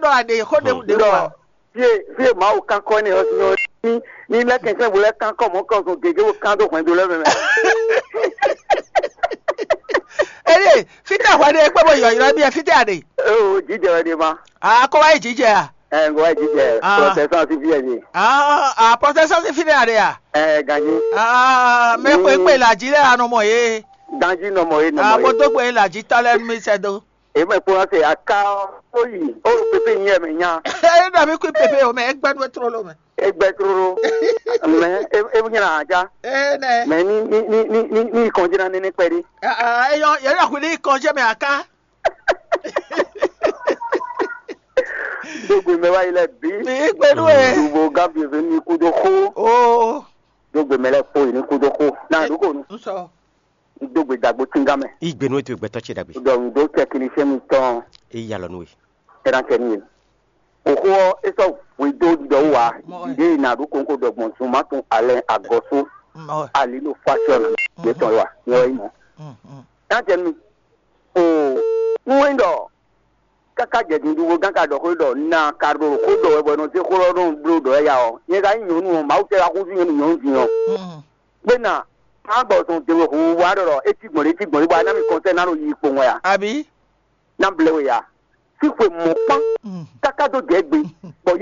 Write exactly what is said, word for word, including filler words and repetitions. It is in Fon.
ɖɔ a ɖe xó ɖe ɖe wɔ. Fie fie Mawu kankɔ ne ɔ́ sinɔ ní ní lɛ kɛnsɛn bo lɛ kankɔ mɔ kɔ zɔn gege bo kan dó hwɛndo lɛ mɛ mɛ. Eye fítɛ hwɛ ɖe kpé bo yɔyrɔ mi fítɛ a ɖe. O jijɛ wɛ ɖe ma. A kó wá yi jijɛ a. Ɛ ngo wá jijɛ. Ah. Protestant si fie ɖe. Ah, ah, protestant si fínɛ a ɖe a. Ɛ ganji. Ah, mɛ kpé kpé la jí lɛ anɔ mɔ ye. Ganji nɔ mɔ ye nɔ mɔ ye. Amo dó gbe la jí tɔ lɛ mi sɛ do. Eme kpɔ́n se aka ó yi ó pépé nyɛ mɛ nya. Eye ɖɔ mi kú pépé o mɛ egbɛ nú etró lo mɛ. Egbɛ troro mɛ ebu nyɛ na aja. Ee nɛ. Mɛ ní ní ní ní ní ní kɔnjí na nínú pɛ́ dí. Eyɔ yɛ ɖɔ kú ní kɔnjí mɛ aká. Dógbe mɛ wá yi lɛ bí. Mi gbé nú ẹ. Dùbò gábíyèsí ní kúdó xó. Oo. Dógbe mɛ lɛ kpó yi ní kúdó xó. Náà dúkò nu. N sɔ. Dógbe dàgbò tíngá mɛ. Igbe nú ètò ìgbẹ́tọ́ ce dàgbé. Dɔ̀hún dó tẹkinisẹ́ mi tán. Èyí yà lọ nú e. Tɛnakɛ ní e. Òxó ɔ́ é sɔ́ hwedó ɖiɖɔ wú wá. Mɔ ɛ. Ɖěe nǎ ɖó kónkó ɖɔ gbɔn zunmátun alɛ agɔsó. Mɔ ɛ. Alino fashion. Yě tɔn wá ní ɔ́ yi mɔ. Tɛnakɛ ní. O. Ń wɛ́n ɖɔ káká jɛ dundun bó gán ka ɖɔ xó ɖɔ na ka ɖo xó ɖɔ wɛ bɔ nɔ zé xó lɔ nɔ bló ɖɔ ya ɔ́, nyɛ ka nyí nyɔ̌nu ɔ́, Mawu tɛ wá xúzú nyɔ̌nu nyɔ̌nu din ɔ́. Gbé na má gbɔ zɔn dewe hu wá ɖɔ ɖɔ é cí gbɔn ɖé cí gbɔn ɖé bɔ a ná mi kɔnsɛ ná ɖo yi kpowun wɛ a? Àbí? Ná blɛ we ya. Sí xwe mɔ̌ kpán káká dó jɛ gbe bɔ